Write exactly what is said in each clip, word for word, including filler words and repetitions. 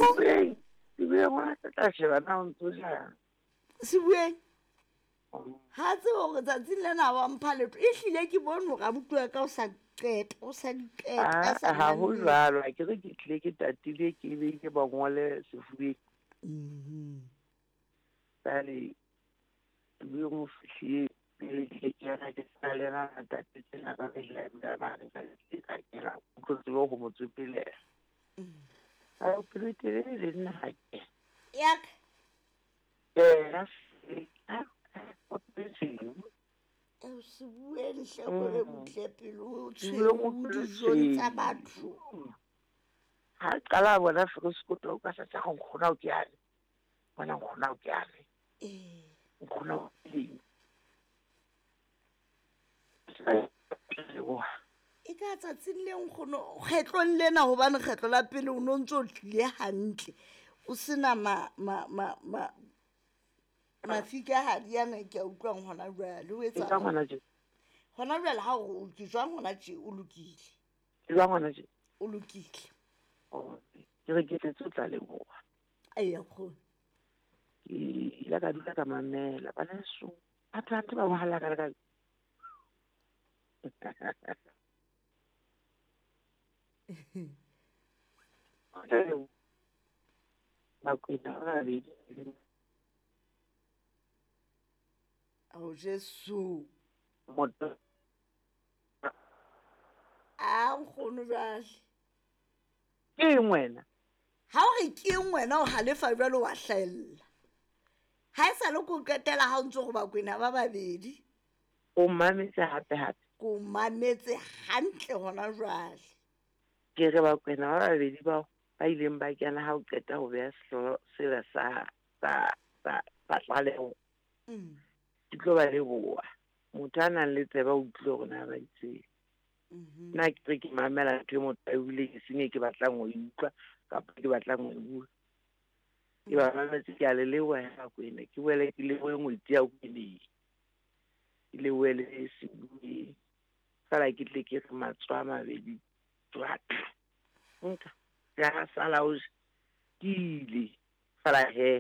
Sebueng, sebueng wa tla sheba na o ntso jang. Sebueng ha tsebe hore tsatsing lena wa mpha letho. Ehlile ke bone hore abuti wa ka o sa qeta, o sa di qeta, a sa Ha ho mamele. jwalo, ha ke re ke tlile ke tatile ke be ke ba ngole sefubeng. Mhm. Jwale sebueng o fihlile pele ke kena ke sa le yena a tatetse tsena ka re la mare ka ke ka kena o tlo tsebe ho mo tsopelela. Ha o pelo e telele le nna ha ke. Ya ka. Yena se- ha o pelo Eo sebueng hle kore butle pelo o Sebueng o tshweu pelo dijong tsa tshweu. batho. Ha qala a bona Feroskoto o ka sa tsa nkgona o ke yane. Bona nkgona o ke yane. Ee. Nkgona o ke eng. E ka tsatsing le nkgono kgetlong lena hobane kgetlo la pele o no ntso tlile hantle. O sena ma ma ma ma mafika ha di ana ke a utlwang hona jwale o Ke etsa jwang hona tje? Hona jwale ha o ke jwang hona tje o lokile. Ke jwang hona tje? O lokile. Oh, ke re ke tletse o tla leboha. Eya nkgono. Ke ile ka dula ka mamela bana heso. Batho hantle ba bohala ka ka. Bakwena ba babedi. Ao Jesu. Motho. A nkgono jwale. Ke eng wena? Ha o re ke eng wena o halefa jwale wa hlahella. Ha e sa le ko qetela ha o ntso go Bakwena ba babedi. O mametse hape hape. Ko mametse hantle hona jwale. Ke re Bakwena ba babedi bao ba ileng ba kena ha o qeta ho beha sehlooho sela sa sa sa sa tlaleho. Mm. Ke tlo ba leboha. Motho a nang le tseba o utlwile hore na ba itseng. Mhm. Nna ke re ke mamela ntho e motho a e buileng e seng e ke batlang ho e utlwa kapa ke batlang ho e bua. Ke ba mametse ke a le leboha he Bakwena. Ke boele ke lebohe ngwetsi ya Kweneng. Ke lebohe le Sebueng. Feela ke tle ke re matsoho a mabedi jwatla. Nka ya sala o ke ile. Feela he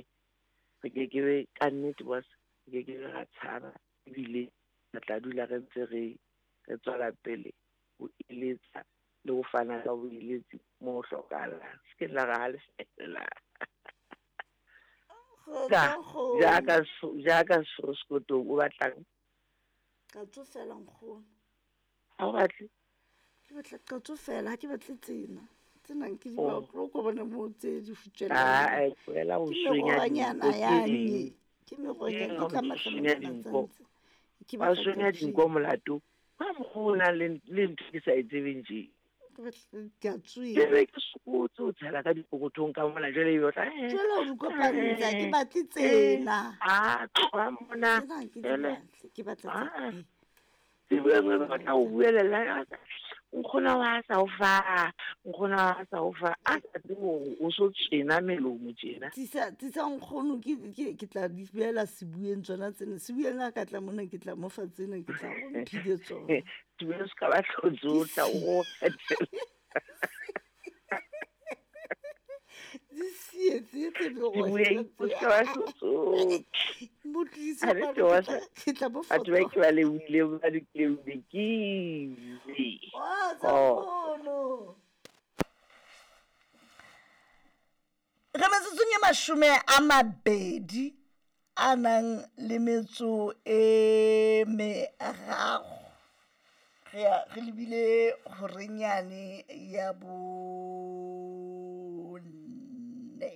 re ke ke be ka nnete boss, re ke ke be ra tshaba ebile re tla dula re ntse re re tswela pele ho eletsa le ho fana ka boeletsi mo ho hlokahalang. Se ke la re halefela. Ka jaaka jaaka Feroskoto o batlang. Ka tsofela nkgono. Ha o batle? Ke batla ka tsofela, ha ke batle tsena. Tsena ke di Oh. batlo ko bone mo tse di futjela. Ah, eh, tlohela ho Ke senya merohonyana dinko tse yane. ding. Ke merohonyana, Ke ke tla ho senya matlamatla dinko. tsantsi. Ke Ba batla senya ke dinko molato. Ka mokgwa o nang le le ntho ke sa e tsebeng tje. Ke batla ke a tswela. Ke be ke sokotse ho tshela ka dipokothong ka mona jwale ebe o tla, eh, Jwale o di kopantsha, ke eh, batle eh, tsena. ah, tloha mona. Tsena ke di Jwale, batle, ke batla ah. tsena. Sebueng o batla ho buelela, nkgono wa sa o fa, nkgono wa sa o fa, a sa tsebe hore o so tjena melomo tjena. Tlisa, tlisa nkgono, ke, ke, ke tla di beela Sebueng tsona tsena. Sebueng ha ka tla mona, ke tla mo fa tsena, ke tla go mphile tsona. Sebueng se ka ba hlotse o tla o kgethela. Di sietse tse Sebueng o se ka ba hlotse o Mo tlise Ha re kwano, tlo ke tla, ke tla mo Batho ba foto. ke ba lebohile, ba lokile, ke ile. Wa tsa Oh. nkgono. Re metsotsong e mashome a mabedi a nang le metso e meraro. Re ya re lebile horenyane ya bo